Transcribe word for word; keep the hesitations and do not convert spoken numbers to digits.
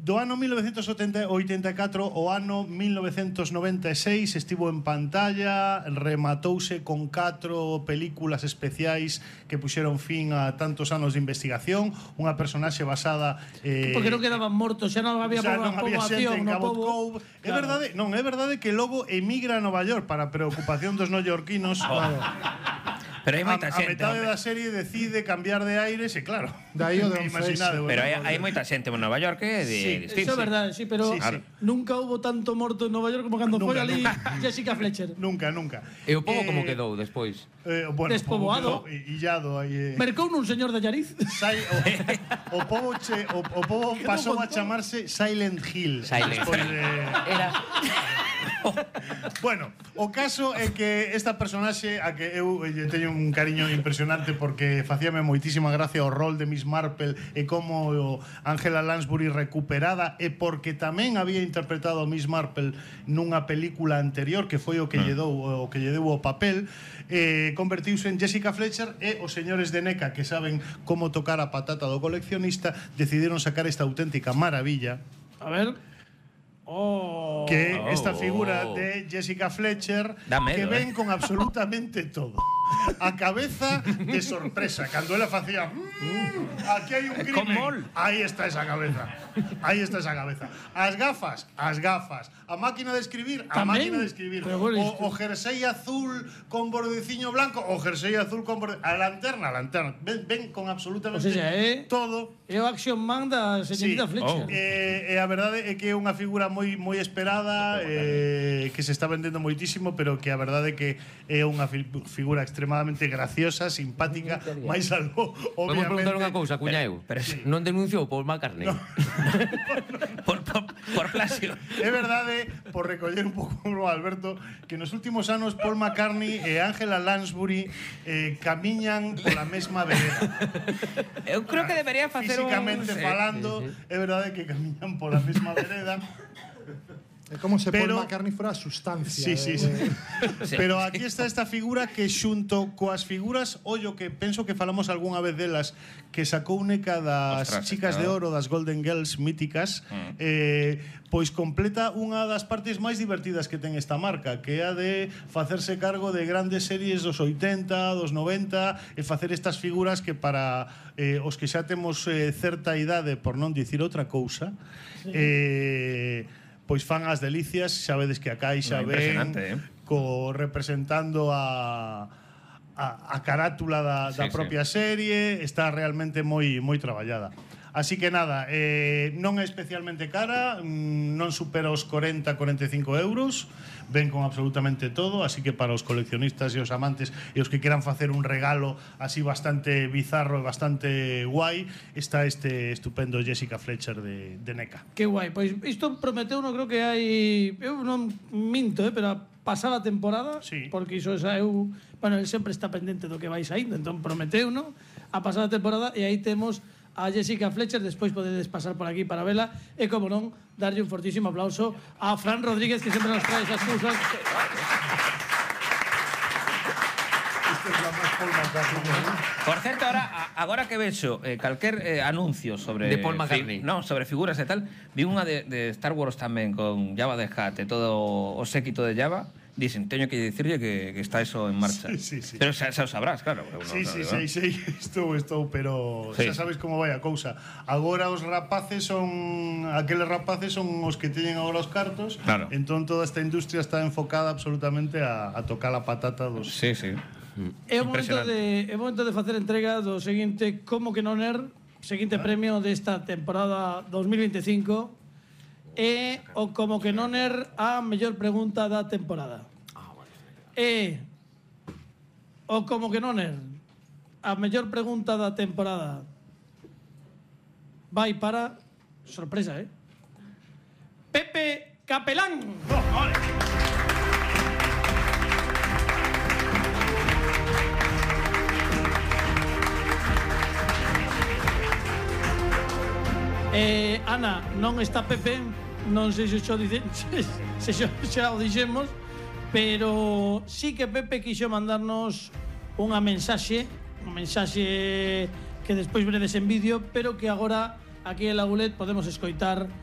Do ano mil novecentos oitenta e catro ao ano mil novecentos noventa e seis estivo en pantalla, rematouse con catro películas especiais que puxeron fin a tantos anos de investigación, unha personaxe basada eh, porque non quedaban mortos, xa non había xa non había xente poboación en no Cabot pobo. Cove. É verdade, non, é verdade que logo emigra a Nova York para preocupación dos neoyorquinos. Claro. Pero hai moita a, xente. a metade da serie decide cambiar de aires e claro. Dai o de imaginade. Pero hai, hai moita xente en Nova York que de Sí, Eso é verdade, sí, pero Sí, sí. nunca hubo tanto morto en Nova York como cando foi Nunca, ali nunca. Jessica Fletcher. Nunca, nunca. E o pobo Eh, como quedou despois? Eh, bueno, Despoboado. o pobo quedou illado aí. Eh. Mercou nun señor de Allariz. Sai, o, o pobo che, o, o pobo Quedou pasou a con todo. chamarse Silent Hill. Silent Despois Hill. de... Era... Bueno, o caso é que esta personaxe a que eu lle teño un cariño impresionante porque facíame moitísima gracia o rol de Miss Marple e como Angela Lansbury recuperada e porque tamén había interpretado a Miss Marple nunha película anterior que foi o que lle dou o que lle deu o papel, eh, convertiuse en Jessica Fletcher e os señores de NECA que saben como tocar a patata do coleccionista decidiron sacar esta auténtica maravilla. A ver. Oh. Que esta Oh. figura de Jessica Fletcher Dá medo, que ven eh. con absolutamente todo. A cabeza de sorpresa cando ela facía mmm, aquí hai un Con crimen. mol. Aí está esa cabeza. Aí está esa cabeza. As gafas, as gafas. A máquina de escribir, a Tamén. máquina de escribir. Pero bueno, O, isto- o jersey azul con bordeciño blanco, o jersey azul con borde... a lanterna, a lanterna. Ven, ven con absolutamente O sea, eh. todo. É o Action Man da señorita Sí. Fletcher. Oh. Eh, e a verdade é que é unha figura moi moi esperada, eh, que se está vendendo moitísimo, pero que a verdade é que é unha fi figura extremadamente graciosa, simpática, máis algo, Podemos obviamente. preguntar unha cousa, cuñaeu. pero sí. Non denunciou Paul McCartney? por, por, por plagio. É verdade, por recoller un pouco o Alberto, que nos últimos anos Paul McCartney e Angela Lansbury eh, camiñan pola mesma vereda. Eu creo que debería facer un... Físicamente sí. falando, é verdade que camiñan pola mesma vereda. É como se Pero- Paul McCartney fora a sustancia. Sí, sí, de- sí. de- Sí. Pero aquí está esta figura que xunto coas figuras, ollo que penso que falamos algunha vez delas, que sacou NECA das Ostras, chicas de claro. oro, das Golden Girls míticas, Mm. eh, pois completa unha das partes máis divertidas que ten esta marca, que é a de facerse cargo de grandes series dos oitenta, dos noventa e facer estas figuras que para eh, os que xa temos eh, certa idade, por non dicir outra cousa, eh, pois fan as delicias, xa vedes que a caixa No, ven impresionante, eh. co representando a a, a carátula da, da Sí, propia serie, está realmente moi moi traballada. Así que nada, eh, non é especialmente cara, mm, non supera os corenta a corenta e cinco euros, ven con absolutamente todo, así que para os coleccionistas e os amantes e os que queran facer un regalo así bastante bizarro e bastante guai, está este estupendo Jessica Fletcher de, de NECA. Que guai, pois isto prometeu, non creo que hai, eu non minto, eh, pero a pasada temporada, Sí. porque iso xa eu, bueno, el sempre está pendente do que vai saindo, entón prometeu, non? A pasada temporada e aí temos a Jessica Fletcher, despois podedes pasar por aquí para vela e, como non, darlle un fortísimo aplauso a Fran Rodríguez, que sempre nos trae esas cousas. Esta é a máis Paul McCartney. Por certo, ahora, a- agora que vexo eh, calquer eh, anuncio sobre... De Paul McCartney. Fi, non, sobre figuras e tal, vi unha de, de Star Wars tamén con Java the Hutt e todo o séquito de Java. Dicen, teño que dicirlle que, que está eso en marcha. Sí, sí, sí. Pero xa, xa o sabrás, claro. Eu non Sí, sí, sabe, sí, sí, estou, estou, pero Sí. xa sabes como vai a cousa. Agora os rapaces son aqueles rapaces son os que teñen agora os cartos. Claro. Entón toda esta industria está enfocada absolutamente a, a tocar a patata dos. Sí, sí. É o momento Impresionante. de é o momento de facer entrega do seguinte Como que non er, seguinte premio desta temporada dos mil veinticinco. E o Como que non er a mellor pregunta da temporada. E o Como que non er a mellor pregunta da temporada vai para sorpresa, eh? Pepe Capelán. Eh, Ana, non está Pepe, non sei se xo dice, se xo xa o dixemos, pero sí que Pepe quixo mandarnos unha mensaxe, unha mensaxe que despois veredes en vídeo, pero que agora aquí en Lagulet podemos escoitar